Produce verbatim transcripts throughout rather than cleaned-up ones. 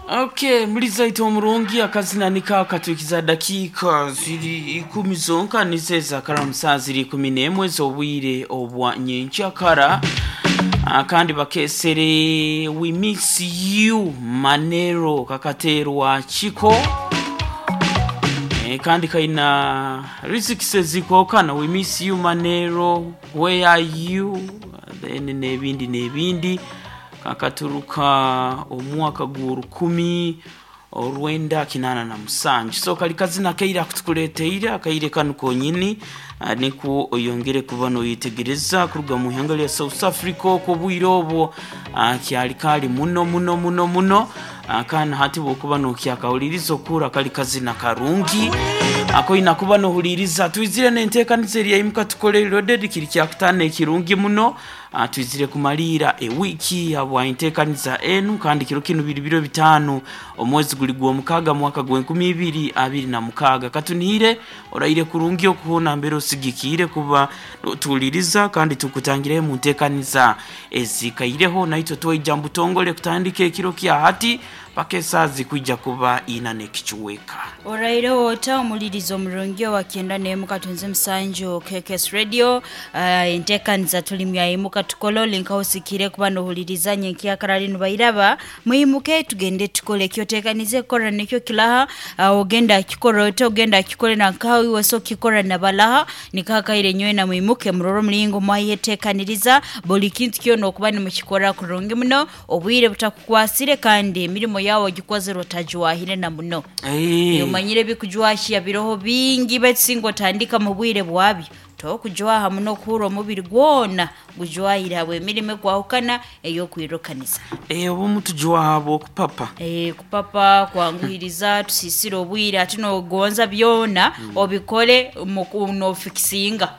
Okay, mulizaita omurungi akazina nika katukiza dakika ziri ikumi zonka nizo ezakara musaa ziri ikumi n'emwe z'obwire obwa nyenkyakara. Ah, kandi bakesere "We Miss You" Manero kakaterwa Chiko. Eh, kandi kaina riziki zikokana "We Miss You Manero", "Where Are You", then n'ebindi n'ebindi. Kakaturuka omwaka gw'orukumi orwenda kinana na musanju. So kali kazina kaire akutukuleteire akaire kanu konyini. ah, nikwo oyongere kuba noyetegereza kuruga mu ihanga lya South Africa okwo obwire obwo, ah, kyali kali muno muno muno muno. Ah, kandi hati bwokuba nokyakahuliriza okura kali kazina karungi akoina kuba nohuliriza. Twizire nenteekaniza eriyaimuka tukole loaded kiri kyakutaano ekirungi muno. Ah, twizire kumaliira ewiki habwa enteekaniza enu, kandi kiro kinu biri biro bitaano omwezi guli gw'omukaaga mwaka gw'enkumi ibiri abiri na mukaaga. Katunihire oraire kurungi okuhona mbere osigikiire kuba tuwuliriza, kandi tukutangireho mu nteekaniza ezikaireho naitwe twaija mbutongole kutandika ekiro kya hati paka esaaha zikwija kuba ina n'ekicuweka. Oraireho ota omulirizo omurungi owa kyenda n'emu katunze musanju K K S Radio. uh, enteekaniza tuli myayimuka tukole olinka osikire kuba nohuliriza nyenkyakara linu bairaba muyimuke tugende tukole ekyoteekanize kukora nikyo kilaha. uh, ogenda akikora ota ogenda akikore nankawe iwe so kikora nabalaha nikakaire nyowe na mwimuke murore omulingo mwayeteekaniriza buli kintu kyona okuba nimukikora kurungi muno obwire butakukwasire kandi emirimo yawe ogikozere otagiwahire na muno. Eh. Omanyire ebikujwahya biroho bingi baitu otandika mu bwire bwabyo tokujwaha muno kuhura omubiri gwona gujwahire habwa emirimo ekwahukana ey'okwirukaniza. Eh, obumu tujwaha bwokupapa. Eh, kupapa kwanguhiriza tusisire obwire ate nogonza byona obikole mu- nofikisinga.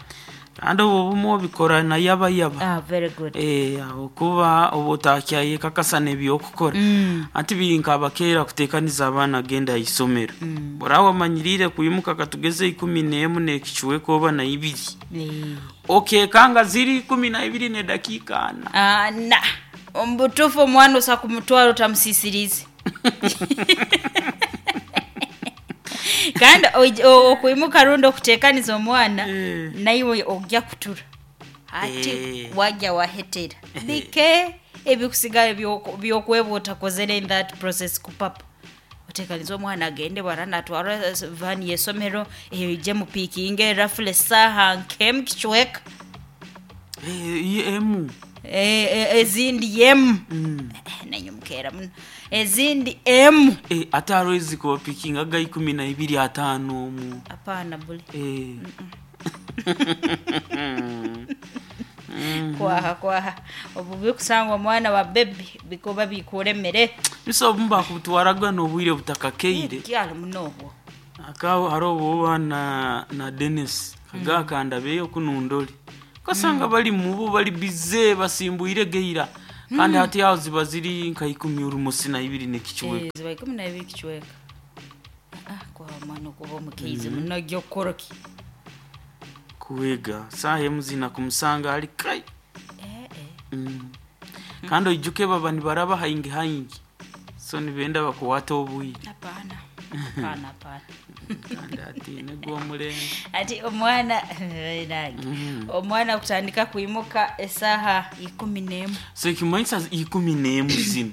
Kandi obwo obumu obikora nayaba yaba. Ah, very good. Eh, okuba oba otakyaye kakasana ebyokukora mm. Anti biri nkabakeera kuteekaniza abaana genda aisomero mm. Burawa wamanyirire kwimuka katugeze ikumi n'emu n'ekicuweka oba na ibiri. Eh. Okekanga ziri ikumi na ibiri n'edakiika ana. Ah, na omubutuufu omwana osa kumutwara otamusisirize kandi oj- o- okwimuka rundi okuteekaniza omwana Eh. naiwe ojja kutura ati Eh. wajja wahetera bike ebikusigala by'oku- by'okweba otakozere in that process kupapa oteekaniza omwana agende bwara natwara vani yesomero ije mupikinge rafule saha nkemu kicweka. Eh, ye- emu. Eh, eh, ezindi yemu mm. nanyo mukeera muno ezindi emu. Eh, ate hariho ezikubapikinga ga ikumi na ibiri ataano omu. Hapana buli. Eh. Kwaha kwaha obu bikusanga omwana wa bebi bikuba bikuremere. Bisa obumu bakutwaraga n'obwire butakakeire. Kyali muno obwo. Akaho hariho obuba na na Denis kagakanda beyo kunundoli kasanga bali mubu bali bize basimbuire geira, kandi hati aho ziba ziri nka ikumi urumosi na ibiri n'ekicuweka. Eh, ziba ikumi na ibiri kicweka. Ah, kwaha omwana okuba omukeizi muno gyokukoroki. Kuwega saha emu zina kumusanga ali kai. Eh, eh. mm. kandi oijuke baba nibaraba haingi haingi, so nibenda bakuwata obwire. Hapana hapana hapana. Kandi ati negwomulembe. Ati omwana nange omwana kutandika kwimuka esaha ikumi n'emu. So ekimanyisa ikumi n'emu zino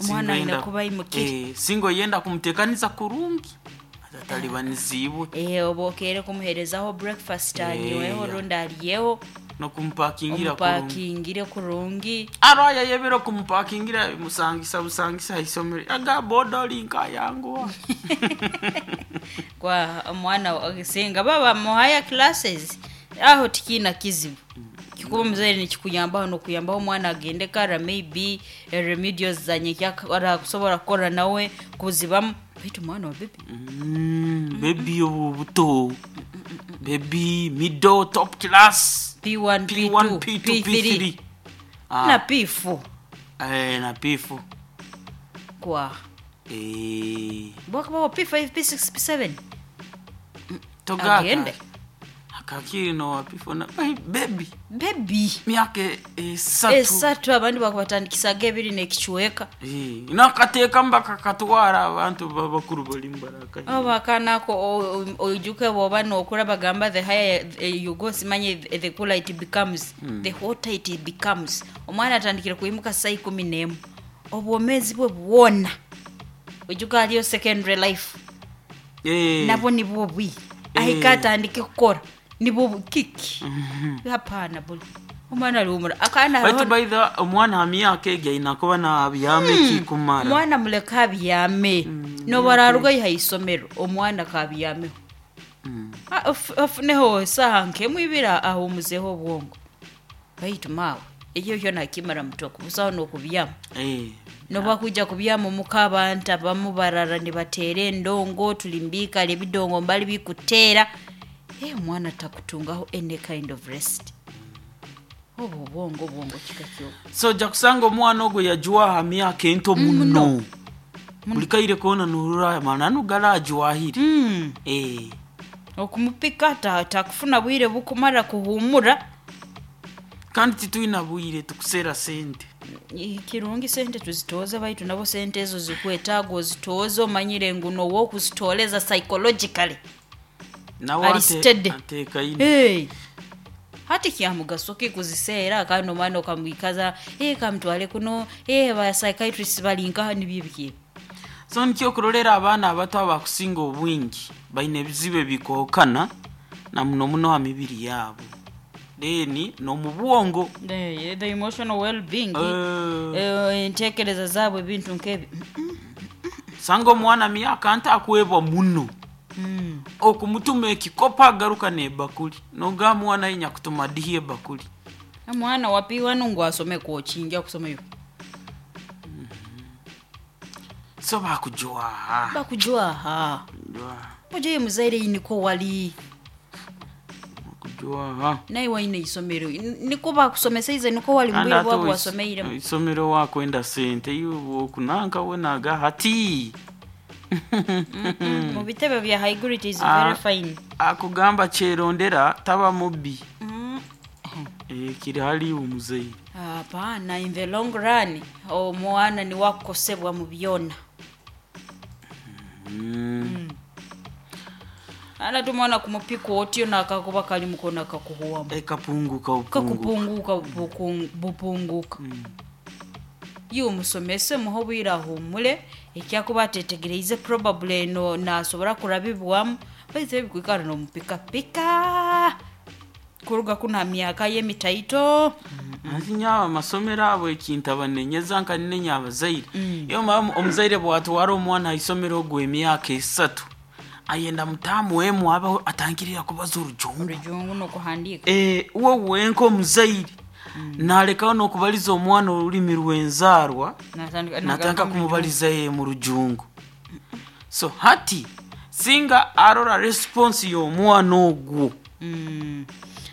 Omwana aine Singoyenda- kuba ayimukire. Eh, singo yenda kumuteekaniza kurungi atatalibanizibwe. Eh, oba okeere kumuherezaho breakfast anyweho Eh. rundi aryeho. Nokumupakingira kurungi. Omupakingire kurungi. Arwaya yebera kumupakingira musangisa busangisa isomero aga boda olinka yanguwa. Kwa omwana singa baba muhaya classes aho tikiina kizibu kikuba omuzaire nikikuyambaho nokuyambaho omwana agende kara maybe eh, remedials zanye kusobora kukora nawe kuzibamu baitu omwana wa bebi. Mm, bebi obu buto bebi middle top class. P one. P one. P two. P two. P three. P three. Na ah, P four. eh, na P four. Kwa eh, bwakabaho P five P six P seven. Togaka Agende. Akakiri nowapifona baby Baby. Myaka esatu. Esatu abandi bakubatandikisaga ebiri n'ekicweka. Eh, nakateekamu bakakatwara abantu babakuru bali mubaraka. Oba akanako oijuke bwoba nokura bagamba the higher you go simanye the cooler it becomes, mm. the hotter it becomes. Omwana atandikire kuimuka saa ikumi n'emu obwomezi bwe bwona oijuka aliyo secondary life. Eh. Nabo nibwo bwi Eh. ahika atandike kukora nibwo kiki. Hapana buli omwana aliumura akana Baitu by the omwana ha myaka egi aina kuba nabyame mm. kikumara. Omwana muleka abyame. mm. Nobararuga iha isomero omwana kabyameho. mm. Afuneho saha nkemu ibira ahumuzeho obwongo baitu mawe ekyo kyo nakimara mutoko busaho nokubyama. Eh. Noba kuja kubyama muka abantu abamu barara nibateera endongo tulimbika ebidongo mbali bikuteera. Eh, omwana takutungaho any kind of rest. Obo obwongo obwongo kika kyo. So ja kusanga omwana ogwo yajwaha myaka ento muno. Buli kaire kona nurura mananu garajwahire. Mm. Eh. Okumupika ta takufuna bwire bukumara kuhumura. Kandi titwina bwire tukusera sente. Kirungi sente tuzitoza baitu nabo sente ezo zikwetaaga ozitoza omanyire ngu nowo okuzitoleza psychologically. Nawe Ali steady. ateeka ine. Hey. Hati kyamugaso ki kuziseera kandi omwana okamwikaza eh kamutwale kuno eh ba psychiatrists balinka nibyo biki. So nikyo kurolera abaana abato abakusinga obwingi baine ebizibu ebikookana na muno muno ha mibiri yaabo. Then n'omu bwongo. The, the emotional well-being. Eh. Eh, entekereza zaabwe ebintu nkebi. Sanga omwana myaka ntakwebwa muno. Mm. Okumutuma ekikopo agaruka n'ebakuli nogamba mwana yinya kutuma dihi ebakuli. Omwana wapiwa nungu asome kochinja kusoma yo. So bakujwaha. Bakujwaha. Jwaha. Muje muzaire niko wali. Bakujwaha. Naye waine isomero niko bakusomesa ize niko wali Kandi mbwire ate bwabo ois- wasomeire. isomero wakwenda sente iwe okunanka wenaga hati. Mm, mu bitebe bya high grade is Ah. very fine. Akugamba kyerondera taba mubbi. Mm. Eh, kiri hali omuzaire. Hapana, in the long run omwana ni wakukosebwa mu byona. Mm. Ana tumwana kumupika otyo nakakuba kali mukono akakuhuwamu. Ekapunguka opunguka. Kakupunguka bukung- bupunguka. Iwe omusomese muhe obwire ahumure ekyakuba atetegereize probably no nasobora kurabibwamu baitu ebikwikara nomupikapika kuruga kuna myaka y'emitaito. Anti nyaaba amasomero abo ekintu abanenyeza nkaninenya abazaire. Iyo mama omuzaire bwatwara omwana ha isomero ogwo emyaka esatu ayenda mutaamu emu abaho atangirira kubaza orujungu. Orujungu n'okuhandiika. Eh, uwe wenka omuzaire nalekaho n'okubaliza omwana orulimi rw'enzaarwa Natandika- natandika kumubaliza ye mu rujungu. So hati singa arora response y'omwana ogwo. Mm.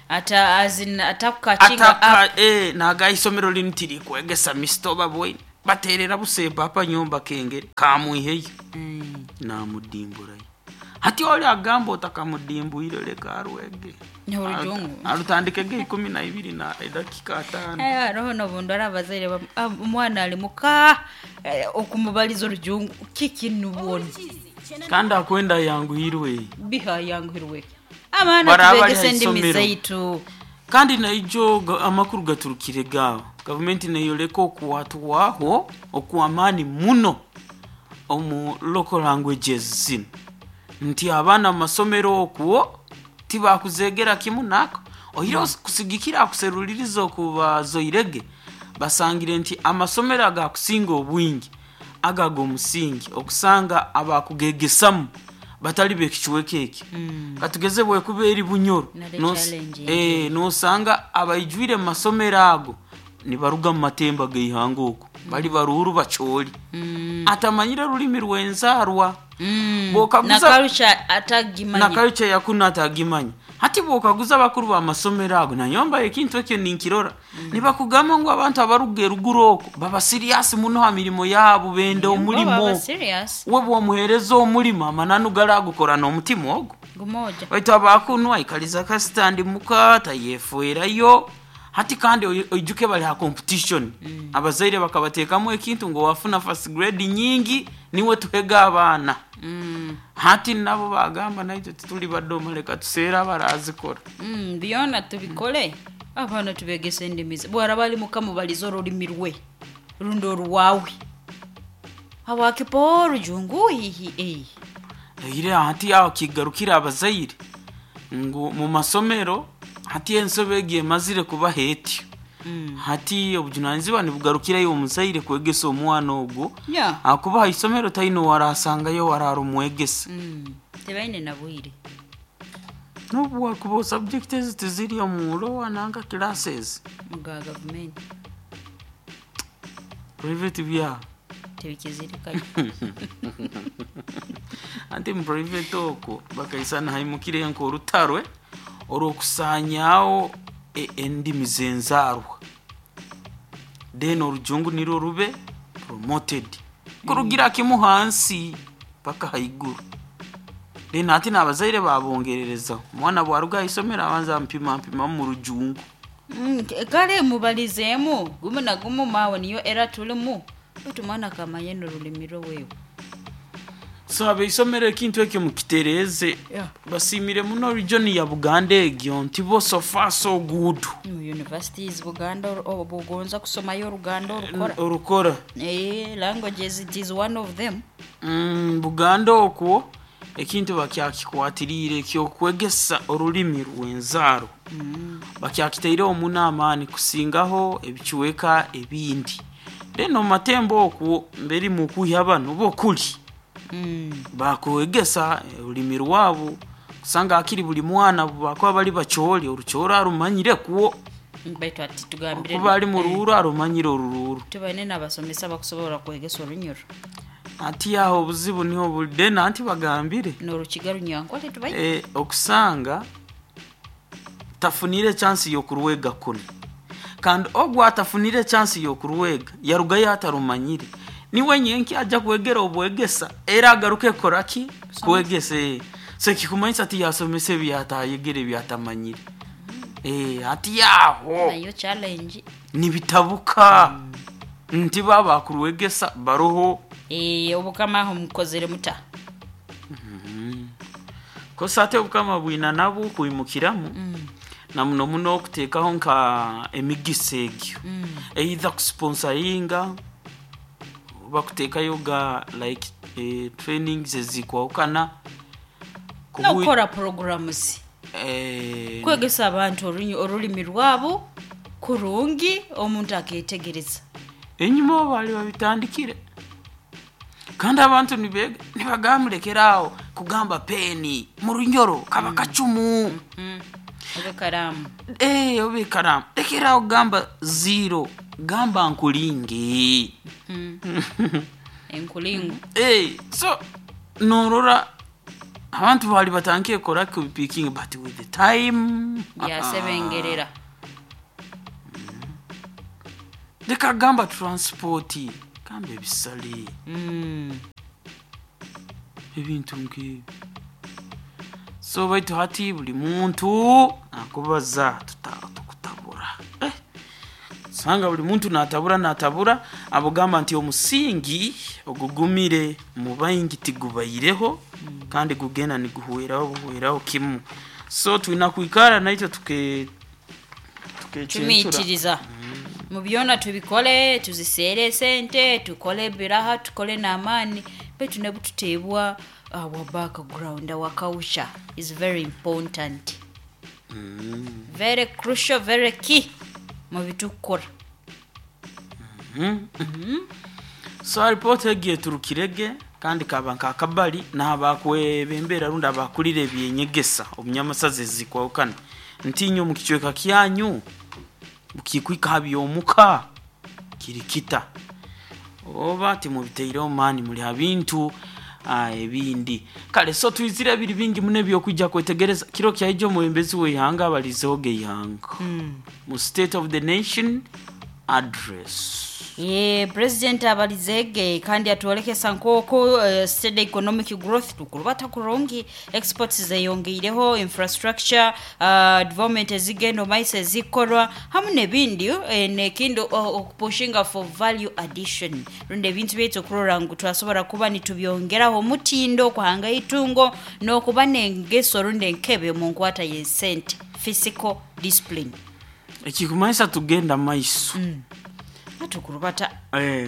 Ata azin atakukakinga up. Ataka eh, naga isomero linu tirikwegesa misitoba bwine baterera busemba apa nyumba kengere kamwiheyo. Mm. Namudimburayo hati oli agamba otakamudimbwire leka arwege. Orujungu. Arutandike ikumi na ibiri na edakika ataano. Eh, hariho n'obundu ari abazaire bam- ah, omwana ali muka eh, okumubaliza orujungu kiki nubwona Kandi akwenda yanguhirwe. Bihayanguhirwe abaana Baraba bari tubegese endimi haisomero. zaitu. Kandi naijo ga- amakuru gaturukire gaawo gavumenti neyoleka okuwatwaho okwamaani muno omu local languages zino nti abaana mu masomero okwo tibakuzegera kimu nako oire kusigikira akuseruliriza okubazoirege basangire nti amasomero agakusinga obwingi agaga omusingi okusanga abakugegesamu batali bekicweka eki. Katugeze bwekuba eri Bunyoro Nare nos- challenge eh, nosanga abaijwire mu masomero ago nibaruga mu matemba geihanga okwo bali baruhuru bacholi atamanyire rulimi rwenzarwa. Mm. Bw'okaguza- Na culture atagimanya. Na culture yakuna atagimanya. Hati bwokaguza abakuru b'amasomero ago nanyomba ekintu ekyo ninkirora, nibakugamba ngu abantu abaruga eruguru okwo baba serious muno ha mirimo yaabo benda Bo omulimo. baba serious. We bwomuheereza omulimo amananu garagukora n'omutima ogwo. Gumoja. Baitu abakunu aikaliza kasitandi muka tayefuerayo hati kandi oi- oijuke bali ha competition mm. Abazaire bakabateekamu ekintu ngo wafuna first grade nyingi niwe tuhega abaana Mm. hati nabo bagamba naitwe tituli badoma leka tuseere abarazikora. Mm, byona tubikole abaana tubegese endimi ze bwaraba ali muka mubalize orulimi rwe rundi oruwawe habwakipa orujungu hihi eh. Ire hati aho kigarukira abazaire ngu mu masomero hati ensobe egi emazire kubaha etyo Mm. hati obujunanizibwa nibugarukirayo omuzaire kwegesa omwana ogwo Yeah. akuba ha isomero taine warasangayo warara omwegesa. Mm. Tebaine na bwire. Nobu wakuba subject ezi tiziri omu lower nanka classes Muga gavumenti. Private bya Tebikizirikayo. Anti mu private okwo bakaisana haimukire nk'orutarwe orw'okusaanyaawo e- endimi z'enzaarwa then orujungu nirwo rube promoted kurugira kimu hansi paka haiguru then ati n'abazaire babongererezaho omwana bwaruga haisomero abanza mpima mpima mu rujungu. Mm, k- kale mubalizeemu gumu na gumu maawe niyo era tulimu baitu mwana akamanye n'orulimi rwe wewe. So abeisomero ekintu ekyo mukitereeze. Yeah. Basiimire muno region ya Buganda egyo nti bo so far so good. Mu universities Buganda or- o- bugonza kusomayo oruganda orukora. Orukora. Eh, languages it is one of them. Mm, Buganda okwo ekintu bakyakikwatiriire ekyokwegesa orulimi rw'enzaaro Mm. bakyakitaireho muno amaani kusingaho ebicweka ebindi then omu matembo okwo mberi mukuhya bano bo kuli Mm. bakwegesa orulimi rwabo kusanga akiri buli mwana bakuba bali bakyoli orukyoro arumanyire kwo. Baitu ati tugambire Okuba ali mu ruuru arumanyire oruruuru. Tubaine n'abasomesa bakusobola kwegesa orunyoro. Ati aho obuzibu niho buli then anti bagambire N'orukiga runyankole tubaine. e, okusanga tafunire chance y'okurwega kuno kandi ogwo atafunire chance y'okurwega yarugayo atarumanyire niwe nyenki ajja kwegera obwegesa era agaruke koraki kwegesa eh. So kikumanyisa ati yasomesa ebyatayegere ebyatamanyire eh, ati yaho Nayo challenge. nibitabuka nti baba bakurwegesa baroho. Eh, obukama aho mukozere muta. Kosa ate obukama bwina nabwo kwimukiramu Mm. na muno muno okuteekaho nka emigisa egyo Mm. either kusponsoringa oba kuteekayo ga like eh, trainings ezikwawukana Kubu- N'okukora programs. eh, Kwegesa abantu orunyi- orulimi rwabo kurungi omuntu aketegereza. Enyuma bo baali babitandikire kandi abantu nibega nibagamulekerawo kugamba peni mu runyoro kaba kacumu. Mm. Oba karamu. Eh, oba ekaramu lekerawo kugamba zero gamba nkulingi. Mm. Enkulingu. Eh, so norora abantu bali batangiye kora kubipikinga but with the time Byasebengerera. Leka gamba transport gamba ebisale Mm. ebintu nk'ebyo so baitu hati buli muntu akubaza tuta- tukutabura eh. Sanga buli muntu natabura natabura abugamba nti omusingi ogugumire mu baingi tigubaireho kandi gugenda niguhweraho buhweraho kimu so twina kwikara naitwe tuke tukecentura Tumiitiriza. Mu byona tubikole tuziseere esente tukole ebiraha tukole n'amaani baitu ne bututeebwa our background, our culture is very important, very crucial, very key mu bitukora. So alipoota egi eturukirege kandi kaba nkakabali n'abakwebembera rundi abakulira ebyenyegesa omunyamasazi ezikwawukana ntinyo omu kicweka kyanyu bukikwika ha byomuka kiri kita oba timubiteireho maani muli ha bintu ah, ebindi kale so twizire biri bingi muno ebyokwijja kwetegereza kiro kyaijo omwebembezi w'eihanga abalizeho geihanga mu State of the Nation. Address. Ye president abalizege kandi atwolekesa nk'oku uh, steady economic growth tukurubata kurungi, exports zeyongeireho, infrastructure uh, development ezigenda omaiso ezikorwa hamu n'ebindi, eh, nekindi okupushinga for value addition, rundi ebintu byaitu okurora ngu twasobora kuba nitubyongeraho omutindo, okuhanga itungo n'okuba n'engeso rundi enkebe mu nkwata y'esente, fiscal discipline. Ekikumanyisa tugenda maiso. mm. Atukurubata. Eh,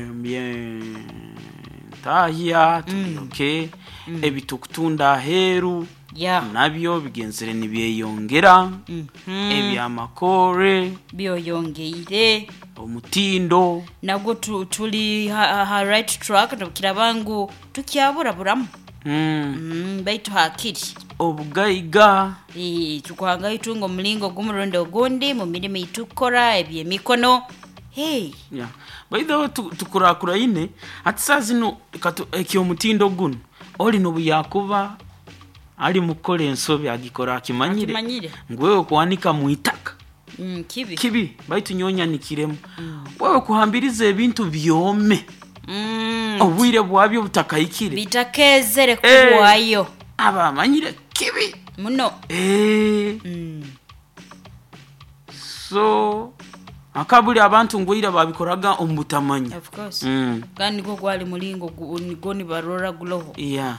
byentahya tuli mm. Ebitukutunda aheeru yeah. nabyo bigenzere nibyeyongera. mm -hmm. Ebyamakore byoyongeire, omutindo nagwo tu, tuli ha, ha right track, kiraba ngu tukyaburaburamu. mm. mm, baitu hakiri obugaiga. E, tukuhanga itungo omulingo gumurundi ogundi mu mirimo itukora ebyemikono. Hey. Yeah. By the way, tukurakuraine ati saa zino ekyomutindo guno oli nobuyakuba ali mukora ensobi agikora akimanyire, akimanyire. Ngwewe kuanika muitaka mm, kibi kibi baitu nyonyanikiremu. mm. Wewe kuhambiriza ebintu byome. mm. Obwire bwabyo butakahikire bitakezere kuwayo. Eh, aba amanyire kibi muno. Eh. mm. So akabuli abantu ngwira babikoraga omubutamanya. Of course. Mm. Kandi niko gwali mulingo nigo nibarora guloho. Yeah.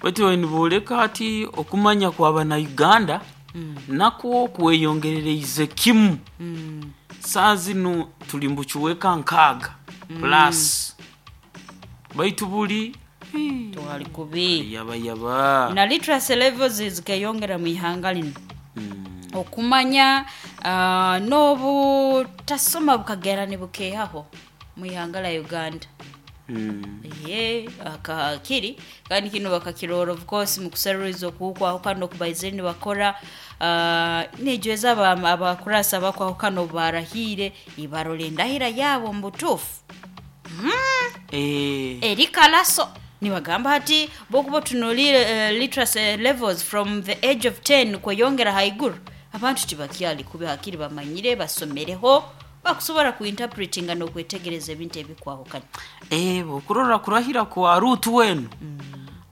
Baitu niboleka ati okumanya kwa na Uganda mm. nakwo kweyongerereize kimu. Mm. Saa zino tuli mbuchuweka nkaaga mm. plus baitu buli twali kubi yaba yaba na literacy levels zikeyongera mu ihanga lino. Mm. Okumanya uh, n'obutasoma bukagera nibukehaho mu ihanga la Uganda. Mm. Ye akakiri kandi kino bakakirora of course mu kuseruriza okukwaho kano kubaizeni bakora uh, nejweza abakurasa bakwaho kano barahire ibarole ndahira yabo mbutufu. mm. Eh. Erikalaso nibagamba hati bokuba tunulire uh, literacy levels from the age of ten kweyongera haiguru abantu tibakyali kubi hakiri bamanyire basomereho bakusobora kuinterpretinga n'okwetegereza ebintu ebikwahukana. Eh, okurora kurahira kwa Rutu wenu. mm.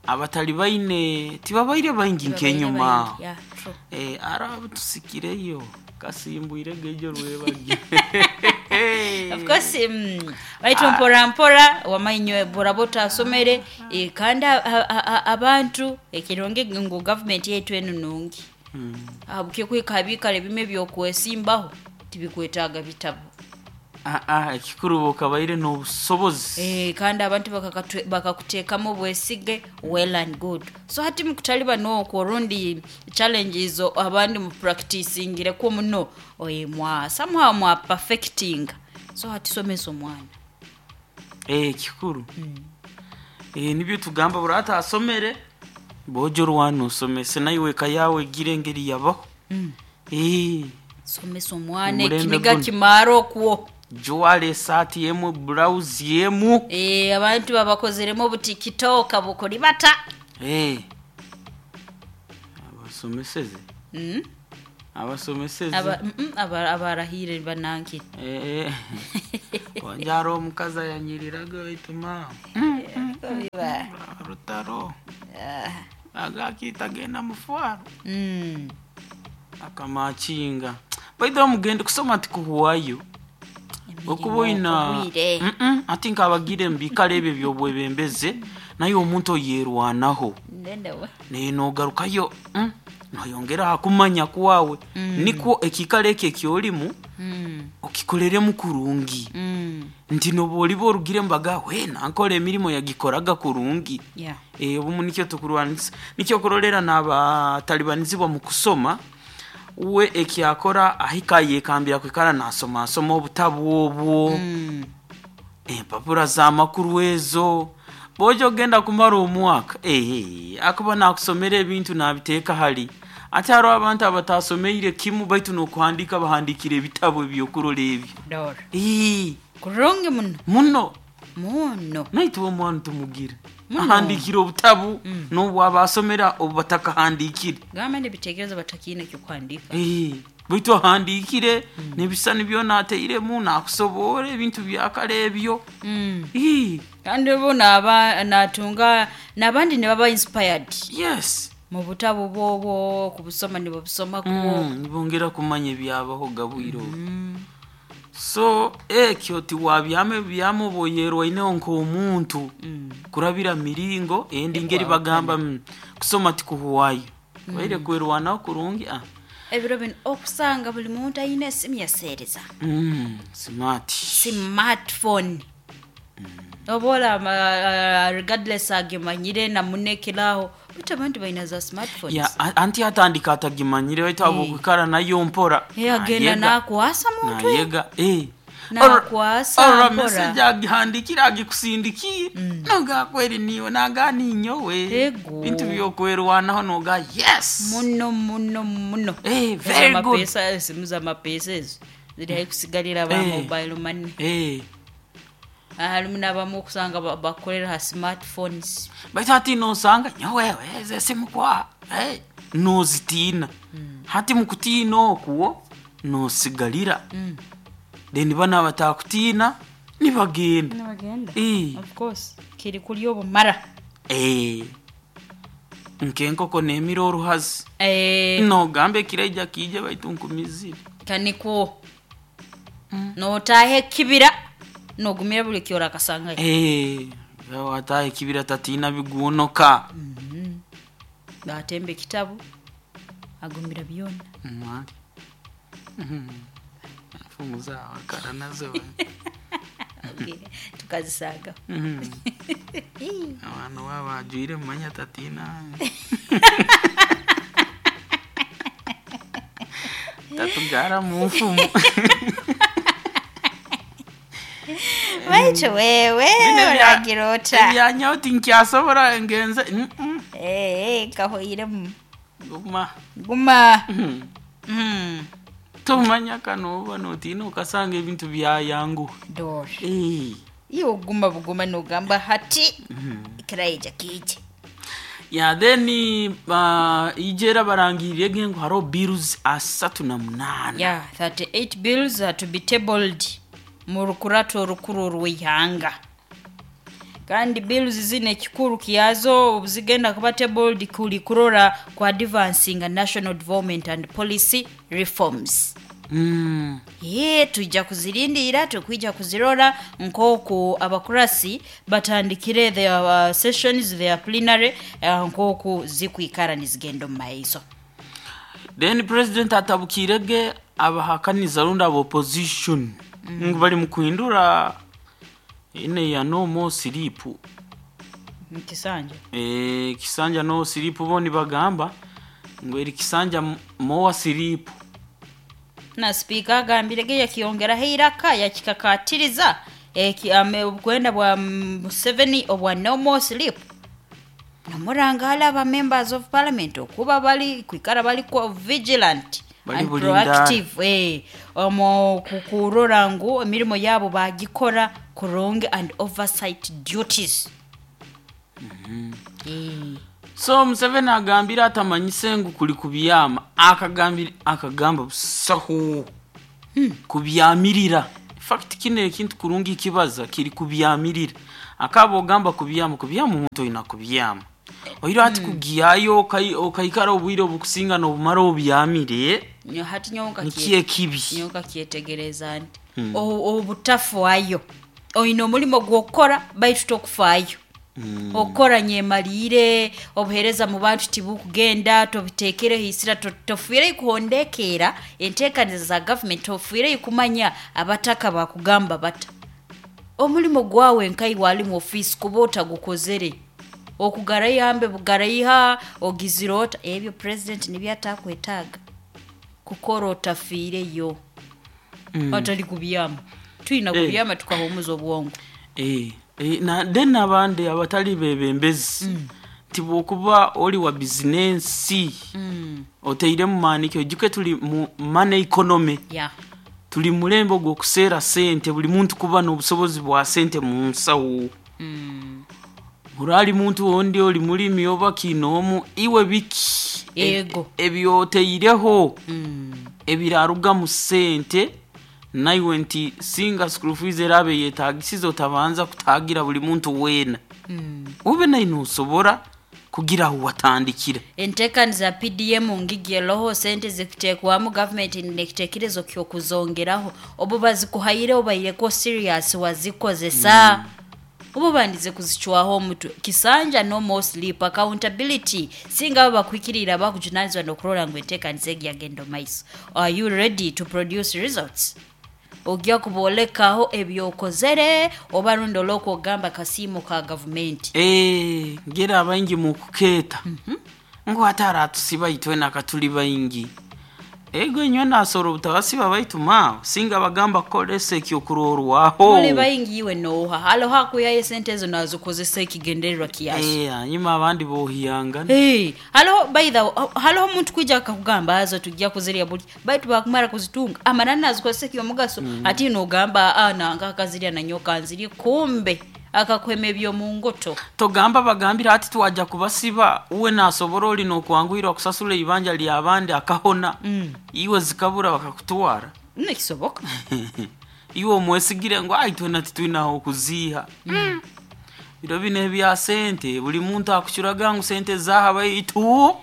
Abatali baine tibabaire baingi nkenyuma. Yeah, true. Eh, arabu tusikireyo kasimbwire gejo rwebagi. Of course, mm, baitu mpora mpora wamainywe borabota asomere e, kandi abantu ekironge ngu government yetu enu nungi. mm. Abuke kwikabikale bime byokwesimbaho tibikwetaaga bitabo. Ah ah ekikuru bokabaire n'obusobozi. Eh, kandi abantu bakakuteekamu obwesige, well and good. So hati mukutaliba n'okwo rundi challenges abandi mu practicingireko muno oye mwa somehow mwa perfecting. So hati somesa omwana. Eh, kikuru. mm. Eh, nibyo tugamba burata asomere bojo rwano osomese nayo eka yawe gire ngeri yabaho. mm. Eh, somesa omwana ekiniga kimaro okwo juwale esati yemu blouse yemu. Eh, abantu babakozeremo butikitoka bukuri bata. Eh, abasomeseze. mm. Abasomeseze aba mm, aba abarahire bananki. Eh, wanjaro omukazi ayanyiriraga ituma biba rutaro agakita genda mufwaro. mm. Akamakinga baitha mugende kusoma tikuhuwayo okuba oyina mm ati nkabagire mbikale ebyo byobwebembeze naye omuntu oyerwanaho nenogarukayo mm, noyongera hakumanya kwawe. mm. Nikwo ekikale ekyo ekyolimu mm. okikoreremu kurungi. mm. Nti noba oliba orugire mbaga we nankora emirimo yagikoraga kurungi. yeah. E, obumu nikyo tukurwanisa nikyo kurolera n'abatalibanizibwa mu kusoma we ekyakora ahika yekambira kwikara nasoma asoma obutabu obwo. mm. Empapura z'amakuru ezo bojo ogenda kumara omwaka eh, akuba nakusomera ebintu nabiteeka hali ate hariho abantu abatasomeire kimu baitu n'okuhandika bahandikire ebitabo ebyokurora ebyo. Dora Eh, kurungi muno muno muno naitwe omwana tumugira ahandikire obutabu mm. n'obwaba asomera obu batakahandikire gamba n'ebitekerezo batakiine kyokuhandika. Eh. Baitu ahandiikire n'ebisani byona ateiremu nakusoboora ebintu byakare ebyo. Mm. Ii, Kandi obu naba natunga n'abandi nibaba inspired yes. Mu butabo bwobwo kubusoma nibabusomako. Mm, nibongera kumanya ebyabaho gabwire obu. So ekyo tiwabyama ebyama oboyerwaineho nk'omuntu kurabira miringo endi ngeri bagamba mm, kusoma tikuhuwayo waire kwerwanaho kurungi ah. Ebiro bino okusanga buli muntu ayina esimu yaseereza. mm, smart. Smartphone oba olaba uh, regardless agimanyire namunekeraho, baitu abantu balina za smartphones. Ya, a- anti atandika atagimanyire, baitu habwokwikara nayo mpora Eh, agenda nayega. nakwasa muntu. Nayega eh. Nakwasa Ora mpora. message agihandikire agikusindikire noga kweri niwe naga ninyowe. Ego. Bintu byokwerwanaho noga yes. Muno muno muno. Eh, very good. Zamapesa, esimu zamapesa ezo ziri hai kusigalira ba Eh. mobile money. Eh. Harimu n'abamu okusanga ba- bakorera ha smartphones. Baitu hati nosanga nyowewe eze esimu kwa eh, nozitiina. Hati mukutiina okwo nosigalira, then bana batakutiina nibagenda. Nibagenda. Eh. Of course kiri kuri obumara. Eh. Nkenkoko nemira oruhazi. Eh, Nogamba ekiraija kiije baitu nkumizire. Kanikwo notaha ekibira nogumira buli kyora akasangayo. Eh, wataha ekibira tatiina bigunoka. Batemba ekitabu agumira byona. Mwali. Mhm. Mfumu zawakara nazo. Okay, tukazisanga. Mhm. Abantu baba bajwire mumanya tatiina tatugara mu nfumu. Baitu wewe Bino ebya- oragira ota? Ebyanyaho tinkyasobora ngenze. Mm, mm. Eh, kahoiremu. Guma. Guma. Mhm. Mm. Tomanya kanoba notiina okasanga ebintu byayanguha. Dora. Eh. Iwe oguma buguma nogamba hati ekiraija kiije. Ya, then uh, ijera barangirire ge ngu hariho bills asatu na munaana. Yeah, thirty-eight bills are to be tabled mu rukurato orukuru orw'eihanga, kandi bills zino ekikuru kyazo obuzigenda kuba tabled kuli kurora ku advancing national development and policy reforms. Mm. Ye tujja kuzirindira, tukwija kuzirora nk'oku abakurasi batandikire their uh, sessions, their plenary, uh, nk'oku zikwikara nizigenda omu maiso. Then president atabukire ge abahakaniza rundi aba opposition ngu bari mu kuhindura ine ya no more sleep. Mukisanja. Eh, kisanja no sleep, bo nibagamba ngu eri kisanja more sleep. Na sipiika agambire ge yakiyongeraho eiraka yakikakatiriza eki ame- obukwenda bwa Museveni obwa no more sleep, namuranga hali aba members of parliament okuba bali kwikara bali kwa vigilant Bali and bulindaara. proactive, eh, omu kukurora ngu emirimo yabo bagikora kurungi and oversight duties. Eh. So Museveni agambire atamanyise ngu kuli kubyama, akagambire akagamba busaho kubyamirira. Fact kino ekintu kurungi kibaza kiri kubyamirira, akaba ogamba kubyama, kubyama omuntu oyina kubyama oiro hati kugiyayo okai- okaikara obwire obukusinga nobumara obyamire. Nyo- hati nyowe nkakie- Nikiyo ekibi. Nyowe nkakyetegereza nti obu- obutafaayo oyina omulimo gw'okukora baitu tokufaayo okukora nyemaliire obuheereza mu bantu tibukugenda tobiteekereho isira to- tofiireyo kuhondekeera enteekaniza za gavumenti, tofiireyo kumanya abataka bakugamba bata omulimo gwawe nkai wali mu ofiisi kuba otagukozere okugaraihambe bugaraiha ogizire ota ebyo president nibyo atakwetaaga kukora otafiireyo atali kubyama tuyina Eh. kubyama tukahumuza obwongo. Eh, eh, na then abandi abatali bebembezi nti bwokuba oli wa bizinensi oteire mu maaniki, ojuke tuli mu money economy. Ya. Tuli mulembe ogw'okuseera sente, buli muntu kuba n'obusobozi bwa sente mu nsawo. Orali muntu ondi oli mulimi oba kinoomu iwe biki Yego. ebyoteireho. Ebiraruga mu sente naiwe nti singa school fees erabe yetagisize otabanza kutagira buli muntu wena. Mm. Ube naino usobora kugira aho watandikira. Entekaniza P D M ngigeroho sente zikutekwamu government nekitekerezo kyo kuzongeraho obu bazikuhaire obaireko serious wazikozesa. Mm. Obu bandize kuzichwaho omutu kisanja no more sleep accountability singa bakwikirira bakujunanizwa nokurola ngu entekaniza yagendo maiso. Are you ready to produce results? Ogya kubolekaho ebyokozere oba rundo loko gamba kasimu ka government. Eh, ngera abaingi mu kuketa. Mm -hmm. Ngo atara tusiba itwe nakatuli baingi. Ego nywe nasoro butabasiba baitu ma singa bagamba kolese kyokurorwaho. Muli baingi iwe noha. Halo hakuya sente ezo nazokozesa ekigendererwa kiasi. Eh, hanyuma abandi bohiyanga. Eh, halo by the halo omuntu kwija akakugamba azo tujja kuzirya buli. Baitu bakumara kuzitunga. Amanana nazikozesa kiyomugaso. Mm. Ati nogamba ah nanga akazirya na nyoka nziri kumbe akakweme byo mungoto. Togamba bagambira ati tuwaja kubasiba uwe nasobora oli nokuanguirwa kusasula ibanja lya abandi akahona. Mm. Iwe zikabura bakakutwara. Nekisoboka. Iwe omwesigire ngo aitwe natitwinaho kuziha. Mm. Biro bine bya sente buli muntu akuchuraga ngu sente zaha baitu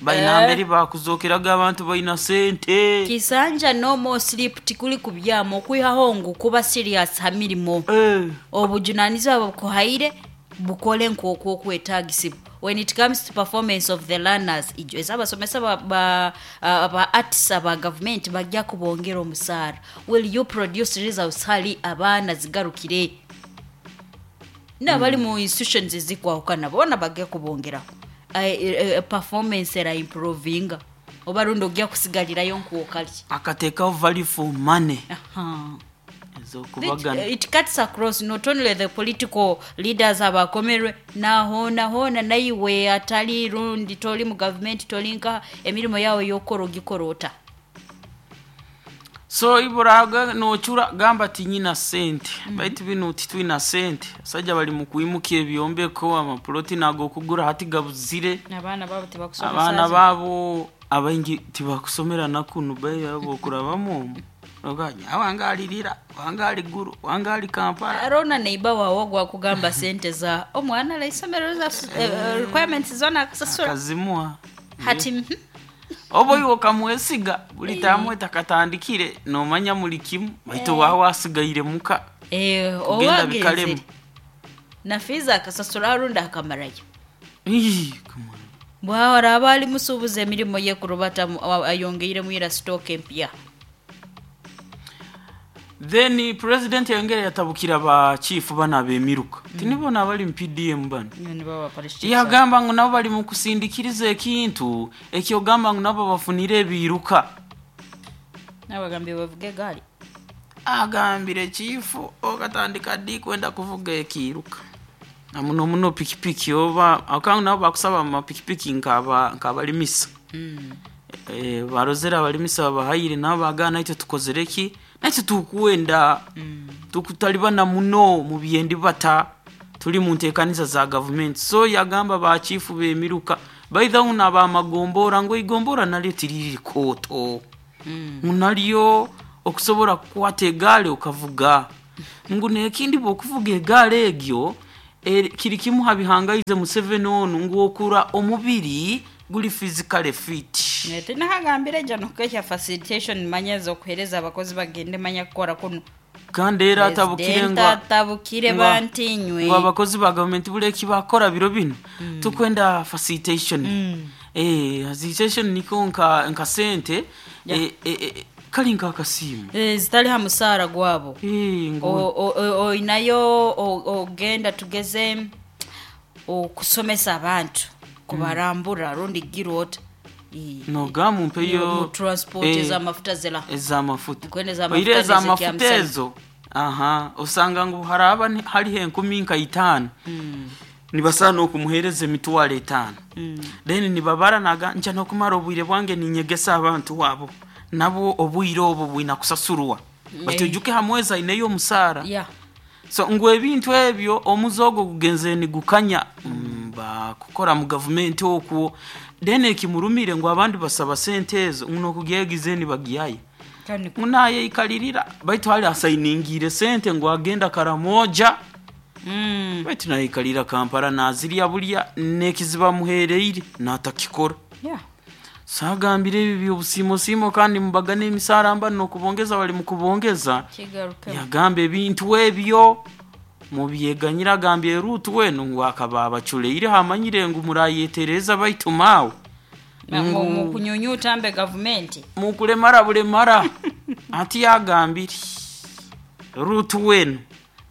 baina mberi bakuzokeraga abantu baina sente. Kisanja no more sleep tikuli kubyamo kwihaho ngu kuba serious hamirimo. Eh. Obujunanizwa bukuhaire bukole nkokwo kwetagisibu. When it comes to performance of the learners ijo ezabasomesa ba ba, uh, ba artists aba government bajja kubongera omusara. Will you produce results hali abaana zigarukire? Na bali mu institutions ezikwahukana bona bajja kubongeraho. Uh, uh, performance era improving oba rundo ogya kusigalirayo nkuokali akateka value for money. Aha. Ezo kubagana it, it cuts across not only the political leaders abakomerwe na hona hona naiwe atali rundi toli mu government tolinka emirimo yawe yokoro gikorota. So iburaga nochura gamba tinyina sente. Mm -hmm. Baitu bino titwina sente. Sajja bali mu kuimuka ebyombeko amaploti nago kugura hati gabuzire. Abana babo tibakusomera. Abana babo abaingi tibakusomera nakunu bayi abo kurabamo. Oganya awangalirira, wangali guru, wangali Kampala. Arona neiba wawo gwa kugamba sente za omwana la isomero za uh, requirements zona akasasura. Akazimua. Hati mm -hmm. Obo iwo kamwesiga buli tamwe takatandikire nomanya muli kimu baitu wawa asigaire muka. Eh, owa bikalemu. Na fiza akasasura runda akamarayo. Ii, come on. Bwawara abali musubuze emirimo ye kurubata ayongeire muira stock empya. Then president yongere yatabukira ba chief bana bemiruka. Mm. Tinibona abali mu P D M bana. Yagamba ngo nabo bali mu kusindikiriza ekintu ekyogamba ngo nabo bafunire ebiruka. Nabagambye bavuge gari. Agambire chief ogatandika di kwenda kuvuga ekiruka. Na muno muno pikipiki oba akangu nabo bakusaba amapikipiki nkaba nkabalimisa. Mm. Eh barozera abalimisa bahayire nabo bagana icyo tukozereki. Nacho tukuenda mm. tukutalibana muno mu byendi bata tuli mu ntekanisa za government. So yagamba ba chief bemiruka by the way naba magombora ngo igombora nalyo tiriri koto. Mm. Munalyo okusobora kukwata egale okavuga ngu nekindi bokuvuga egale egyo e, kiri kimu habihangaize Museveni onu ngu okura omubiri guli physically fit. Nete nahagambire jano kesha facilitation manyezo kuhereza abakozi bagende manya kukora kuno. Kandi era atabukire ngo atabukire bantinywe. Ngo abakozi ba government buleki bakora biro bino. Mm. Tukwenda facilitation. Mm. Eh facilitation niko nka nka sente yeah. eh, eh, eh kali nka akasimu. Eh zitali ha musara gwabo. Eh ngo o, o, o inayo ogenda tugeze okusomesa abantu kubarambura rundi girota. No gamu mpeyo transport eh, za mafuta zela za mafuta kwene za mafuta za mafuta ezo aha usanga ngo haraba hari enkumi nka itano. Mm. Nibasana okumuhereza emitwalo etano. Mm. Then nibabara naga ncha no kumara obwire bwange ninyegesa abantu wabo nabo obwire obo bwina kusasurwa. Mm. Batujuke hamweza ineyo musara. Yeah. So ngo ebintu ebyo omuzogo kugenze ni gukanya mm, ba Akukora mu gavumenti okwo, then ekimurumire ngu abandi basaba sente ezo nokugyegize nibagiyayo Kandi munayeikalirira, baitu hali asainingire sente ngu agenda Karamoja. Mm. Baitu nayikalira Kampala nazirya bulya nekiziba muhereire natakikora. Yeah. Sagambire ebi byobusimo kandi mubagana emisara mba nokubongeza bali mukubongeza. Kigaruke. Yagamba ebintu ebyo mubyeganyira, agambye Rutu wenu ngu akaba abaculeire hamanyire ngu murayetereza baitu maawe Mu mu kunyunyuta mbe gavumenti. Mukulemara bulemara. Ati yagambire Rutu wenu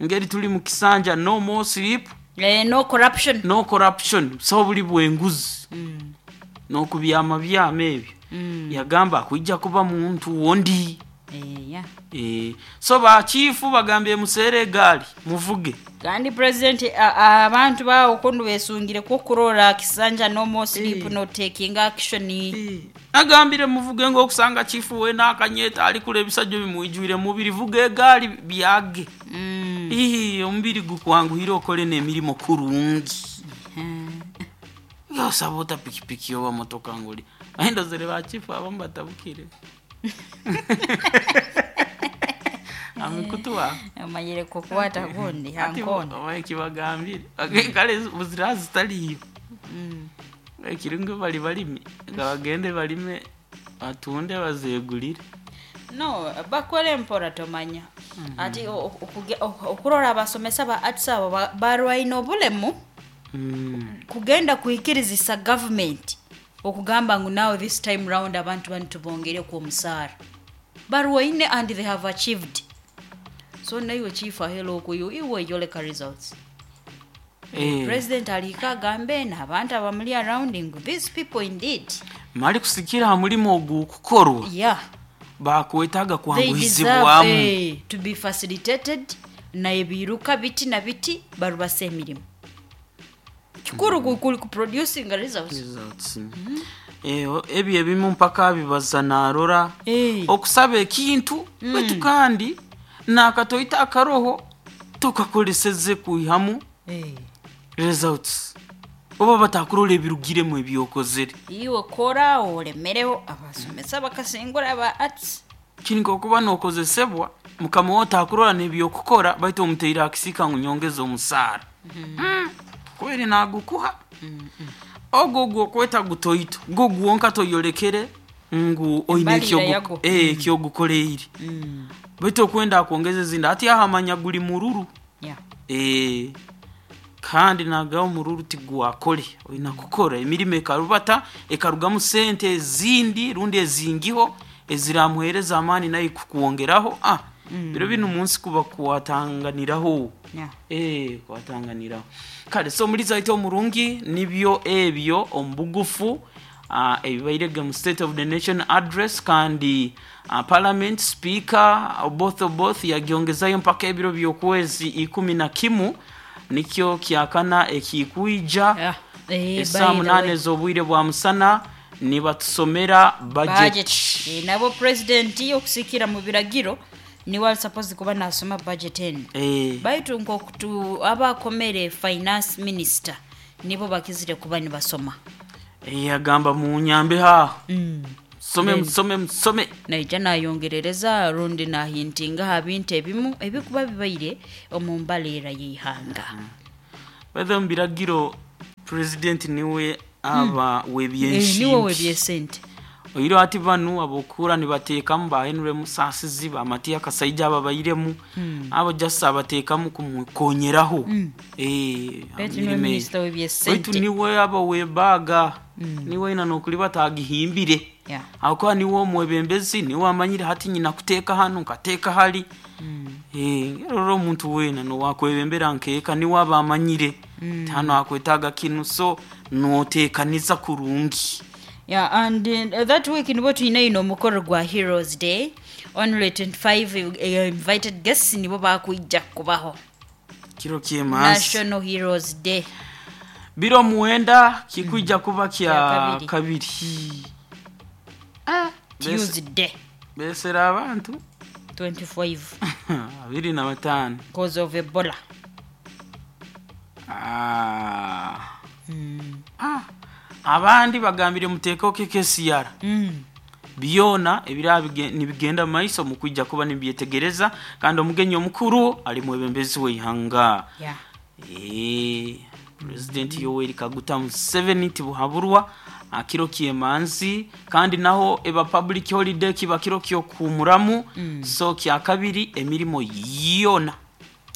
ngeri tuli mu kisanja, no more sleep. Eh, no corruption. No corruption, so buli bwenguzi Mm. nokubyama byama ebyo. Mm. Yagamba akwijja kuba muntu wondi. Eh, yeah. Eh, so bachifu bagambye musere egaali muvuge. Kandi president a- abantu bawo kundu besungire kukurora kisanja no more sleep, Eh. no taking action. Eh, agambire muvuge ng'okusanga chifu we n'akanyeta ali kula ebisajja bimwijwire mubiri, vuga egaali byage. Mm. Ii, omubiri gukwanguhire okole n'emirimu kurungi. Osaba ota pikipiki oba motoka nguli aindozere bachifu abamu batabukire amikutuwa. Amanyire kukwata gundi hankona. Ekibagambire kale buzira zitaliyo. Mm. Ekiringo bali balimi nga bagende balime batunde bazegulire. No bakole mpora tomanya ati o- o- okuge- o- okurora abasomesa ba arts abo ba- barwaine obulemu Mm. kugenda kuhikirizisa government okugamba ngu now this time round abantu banu tubongereku omusaara, barwaine and they have achieved. So naiwe chief ahelo okuyu iwe yoleka results. Eh, president alika agambe n'abantu abamuli around ngu these people indeed. Mali kusikira ha mulimu ogukukorwa. Yeah. Bakwetaaga They deserve kwanguhizibwamu. eh, to be facilitated na ebiruka biti na biti barubasa emirimu kikuru mm. kuli kuproducing results. Results. Eh, ebyo ebimu mpaka bibaza narora Eh. okusaba ekintu baitu kandi nakatoita akaroho tukakoleseze kwihamu Eh. results oba batakurora ebirugiremu ebyokozere. Iwe kora olemereho abasomesa bakasingura aba arts. Kiri okuba nokozesebwa mukama wo takurora nebyokukora baitu omuteire akisika ngu nyongeza omusaara. Mm. Kweri nagukuha ogwo gwokweta gutoito gwo gwonka toyolekere ngu oine Embalira ekyogu- yago. eh, ekyogukoleire baitu okwenda akwongeza ezindi ati ahamanya guli mururu. Yeah. Eh, kandi nagaho omururu tigwakole, olina kukora emirimu ekarubata ekarugamu sente ezindi rundi ezingiho eziramuhereza amaani naye kukwongeraho. Ah, biro bino omunsi kuba kwatanganiraho. Yeah. Eh, kwatanganiraho kale. So muri zaito omurungi nibyo ebyo omubugufu uh, ebibairege mu State of the Nation Address, kandi uh, parliament speaker Oboth Oboth yagyongezayo mpaka ebiro by'okwezi ikumi na kimu, nikyo kyakana ekikwija. Yeah. Eh, Esaa by the munane way. ez'obwire bwa musana nibatusomera budget. Budget. Eh, nabo president okusikira mu biragiro niwe ali supposed kuba nasoma budget eno. Eh, baitu nkokutu abakomere finance minister nibo bakizire kuba nibasoma. Eh, agamba munyambe haho. Mm. Musome, musome, musome. Naija nayongerereza rundi nahintinga ha bintu ebimu ebikuba bibaire omu mbaleera y'eihanga. Bethe mu biragiro president niwe aba Eh, niwe webyenshimbi. webyesente. Oiro ati banu abokura nibateekamu ba Henry Musasizi ba Matiya Kasaija aba bairemu abo just abateekamu kumukonyeraho. Eh, Baitu mirimo niwe eyo. minisita Baitu w'ebyesente. niwe aba webaga niwe ina nokuli batagihimbire. Yeah. Ahakuba niwe omwebembezi, niwe amanyire hati nyina kuteeka hanu nkateeka hali. Eh, rero omuntu weena nowakwebembera nkeeka niwe aba amanyire mm. hano akwetaaga kinu, so noteekaniza kurungi. Yeah, and uh, that week nibo tulina ino omukoro gwa Heroes Day, only twenty-five uh, invited guests nibo bakwijja kubaho. Kiro kyemansi. National Heroes Day. Biro muwenda kikwijja kuba kya Kya kabiri. kabiri. Ah, bese- Tuesday. Besera abantu twenty-five abiri na bataano. Cause of Ebola. Ah. Abandi bagambire muteekeo K K C R. Mm. Byona ebiraba bige- nibigenda mu maiso mukwijja kuba nibyetegereza, kandi omugenyi omukuru ali mwebembezi w'eihanga. Yeah. Eh, President Yoweri Kaguta Museveni tibuhaburwa akiro kyemanzi, kandi naho eba public holiday, kiba kiro kyokuhumuramu mm. So kyakabiri emirimo yona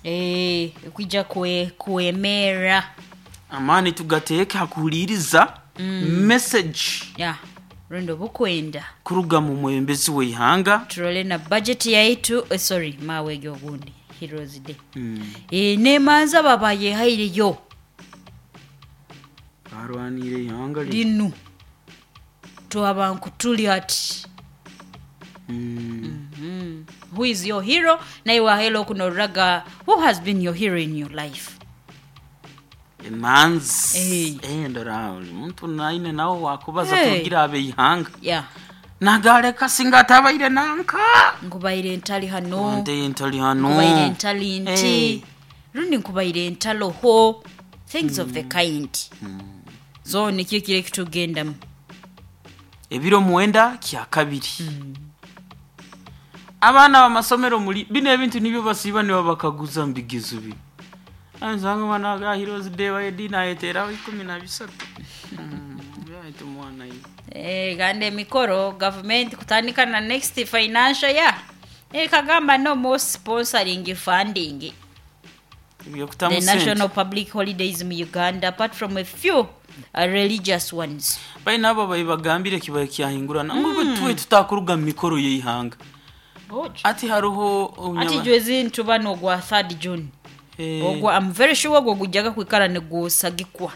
Eh, kwija kwe kuemera. Amaani tugateeke hakuhuliriza mm. message Yeah. Rundo bukwenda kuruga mu mwebembezi w'eihanga. Turole na budget yaitu, eh, sorry, mawe ogundi Heroes Day mm. e, nemanza baba yehaireyo. Barwanire ihanga li linu twaba nkutuli ati. mm. mm. Who is your hero? Naye wahelo kunoraga, who has been your hero in your life? Emanzi. Eh. Eh, ndora buli muntu naine nawe wakubaza. Hey. Tugira abeihanga Yeah nagaleka singa atabaire nanka. Nkubaire ntali hano. Nte ntali hano. Nkubaire ntali nti. Eh. Rundi nkubaire ntaloho, things of the kind. So nikyo kire kitugendamu. Ebiro mwenda kyakabiri abaana bamasomero muli bino ebintu nibyo basiiba nibo bakaguza mu bigezo bino. Nsanga omwana ga Heroes Day waedi nayeteraho ikumi na bisatu. Mm, byahita omwana ye. Eh, kandi emikoro gavumenti kutandika na next financial year ekagamba no more sponsoring, funding ebyokutamu the sente. National public holidays mu Uganda, apart from a few uh, religious ones. Baina abo babagambire kibaye kyahingurana ngu tuwe tutakuruga mu mikoro y'eihanga ati hariho Ati obunyama- jwezi ntuba nogwa third June. Eh, Ogwo I'm very sure ogwo gujjaga kwikara negusagikwa.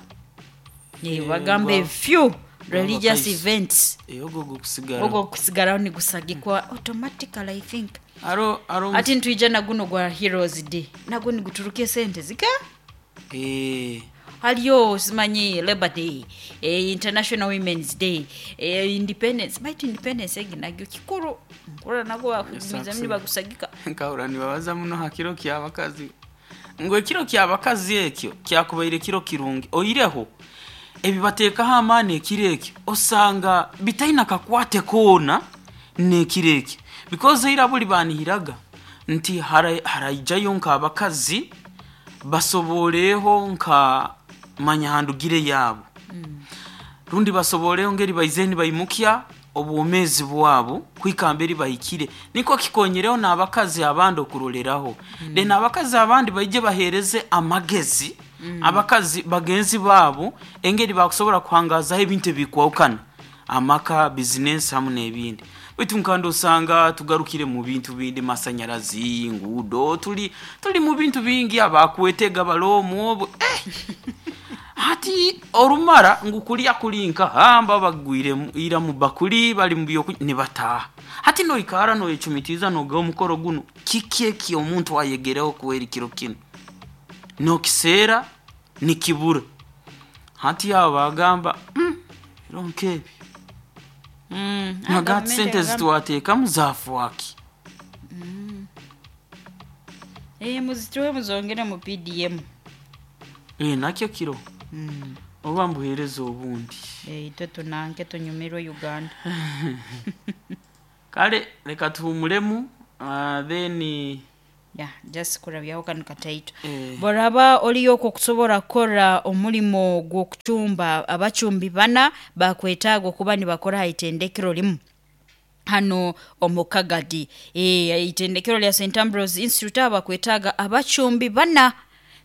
Eh, bagamba gwa- a few religious bakaiso. events. Eh, ogwo gukusigara. Ogwo kusigaraho nigusagikwa automatically, I think. Aro aro. Ati ntwija na guno gwa Heroes Day nagwo niguturuka esente zika. Eh. Haliyo simanyi Labor Day, eh, International Women's Day, eh, Independence, baitu Independence egi nagyo kikuru nkura nagwo bakugumizamu nibagusagika. Nkahura nibabaza muno ha kiro kyabakazi ngu ekiro kyabakazi ekyo kyakubaire kiro kirungi, oireho ebi bateekaho amaani ekiro ekyo osanga bitaina kakwate koona n'ekiro ekyo, because eira buli banihiraga nti hara- haraijayo nk'abakazi basoboleho nka manyahandugire yaabo rundi basoboleho ngeri baize nibaimukya obwomeezi bwabo kwikamba eri bahikire, niko kikonyereho n'abakazi abandi okuroleraho mm. Then abakazi abandi baije bahereze amagezi mm. abakazi bagenzi baabo engeri bakusobora kuhangazaho ebintu ebikwahukana, amaka, bizinesi hamu n'ebindi. Baitu nkandi osanga tugarukire mu bintu bindi, masanyarazi, ngudo, tuli tuli mu bintu bingi abakwetega balomwo obu eh! Hati orumara ngu kulya kulinka hamba bagwire mu- ira mu bakuli bali mu byoku nibataha. Hati noikara noyecumitiza noga omukoro guno kiki eki omuntu ayegereho kuwera kiro kino nokiseera nikibura. Hati abo bagamba mm, biro nkebi Mm, nagati gavumenti sente egamba- zitwateekamu zafuaki. Eh, muzituwe muzongere mu P D M. E, nakyo kiro oba mbuheereza obundi. Eh, itwe tunanke tunyumirwe Uganda. Kale leka tuhumulemu, uh, then Yeah, just kurabyaho kano kataito. Eh. Boraba oliyo okusobola kukora omulimo gw'okucumba, abacumbi bana bakwetaaga okuba nibakora ha itendekero limu hano omu Kagadi. E, itendekero lya Saint Ambrose Institute abakwetaaga abacumbi bana.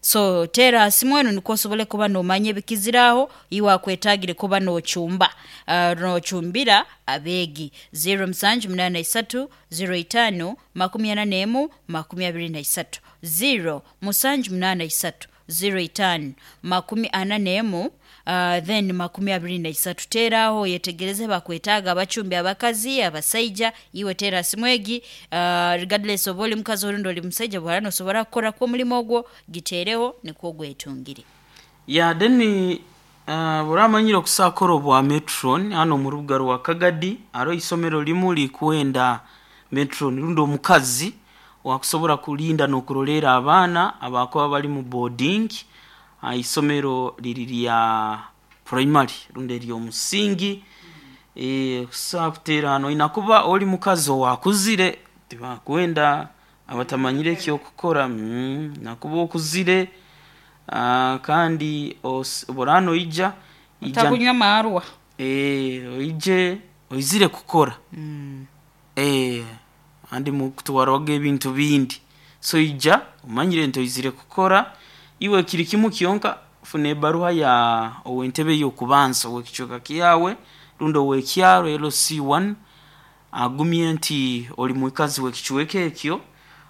So tera simu eno nikwo osobole kuba nomanya ebikiziraho iwe akwetaagire kuba nochumba, uh, nochumbira abeegi. zero musanju munana isatu zero itano makumi ana nemu makumi abiri na isatu, zero musanju munana isatu zero itano makumi ana nemu, uh, then makumi abiri na isatu. Teraho yetegereze bakwetaaga abacumbi abakazi, abasaija. Iwe tera simwegi, uh, regardless oba oli mukazi orundi oli musaija, bwara nosobora kukora kwo omulimo ogwo, giteereho nikwo gwetungire. Ya, then uh, buramanyire okusakora obwa matron hano mu rubuga rwa Kagadi aro isomero limu likwenda matron rundi omukazi wakusobora kulinda n'okurolera abaana abakuba bali mu boarding. uh, isomero liri lya primary rundi eryomusingi. Eh, kusa kuterano inakuba oli mukazi owakuzire, tibakwenda abatamanyire ekyokukora. mm, nakuba okuzire, ah, kandi os- burano ija ija Takunywa marwa. eh, oije oizire kukora. Mm. eh, andi mukutwarwaga ebintu bindi, so ija omanyire nti oizire kukora. Iwe kiri kimu kyonka, funa ebaruha ya ow'entebe y'okubanza ow'ekicweka kyawe rundi ow'ekyaro L C one, agumye nti oli mwikazi w'ekicweka ekyo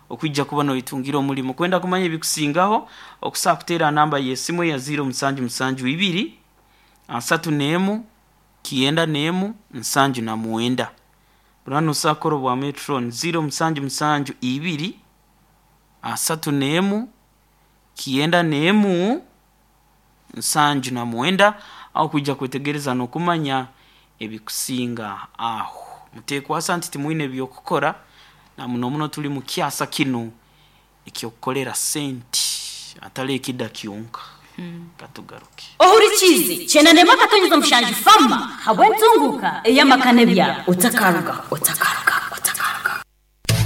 okwijja kuba noitungira omulimu. Kwenda kumanya ebikusingaho, okusobola kuteera namba y'esimu ya ziro musanju musanju ibiri asatu n'emu kyenda n'emu nsanju na mwenda. Burano osakora obwa metron ziro musanju musanju ibiri asatu n'emu kyenda n'emu nsanju na mwenda, aho kwijja kwetegereza n'okumanya ebikusinga aho. Muteekwasa nti timwine ebyokukora, na muno muno tuli mu kyasa kinu ekyokukolera senti atali ekida kyonka. Katugaruke. Ohurikize kyenda akatonyeza omushanju fama habw'entunguka ey'amakane byabo otakaruga otakaruga otakaruga.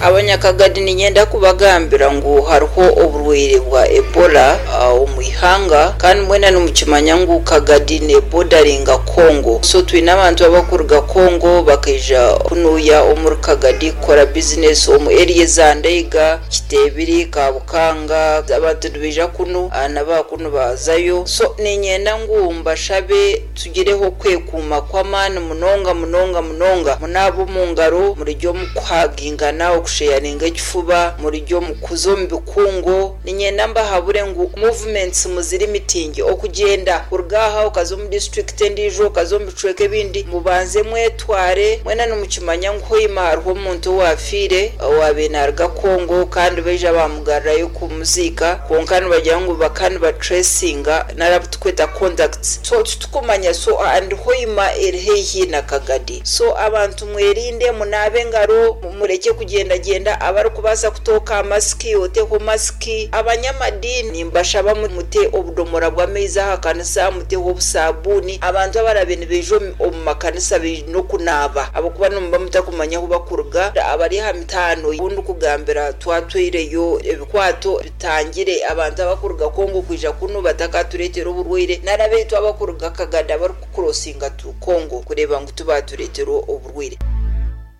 Abanyakagadi ninyenda kubagambira ngu hariho oburwaire bwa Ebola uh, omu ihanga, kandi mwena nimukimanya ngu Kagadi ne bordaringa Congo, so twine abantu abakuruga Congo bakaija kunuya omuri Kagadi kukora business omu area za Ndeiga, Kitebiri, Kabukanga. Abantu nibaija kunu uh, n'abakunu bazayo. So ninyenda ngu mbashabe tugireho kwekuuma kw'amaani munonga munonga munonga, munaaba omu ngaro, murijya omu kuhagingana, okusheyaringa ekifuba, murijya omu kuza omu bikungu. Ninyenda mbahabure ngu movements muziri mitingi, okugyenda kuruga aha okaza omu district endiijo, okaza omu bicweka ebindi, mubanze mwetware. Mwena nimukimanya ngu hoima hariho omuntu owafiire owaabaire naaruga Congo, kandi baija bamugarurayo kumuziika, kwonka nibagira ngu baka nibatracinga narabu tukweta contacts, so titukumanya. So and hoima eri haihi na Kagadi, so abantu mwerinde, munaabe engaro, mureke kugendagenda. Abarikubaasa kutooka masiki oteho masiki. Abanyamadini mbashaba mute obudomora bw'amaizi aha kanisa, muteho obusabuuni. Abantu abarabe nibaija omu- omu makanisa baine okunaaba, ahabw'okuba nimuba mutakumanya ahu bakuruga. Abari aha mitaano obundi kugambira twatwireyo ebikwato bitangire abantu abakuruga Congo kwija kunu batakatureetera oburwaire, nari abaitu abakuruga Kagadi abarikukurosinga tu Congo kureeba ngu tubatureetera oburwaire.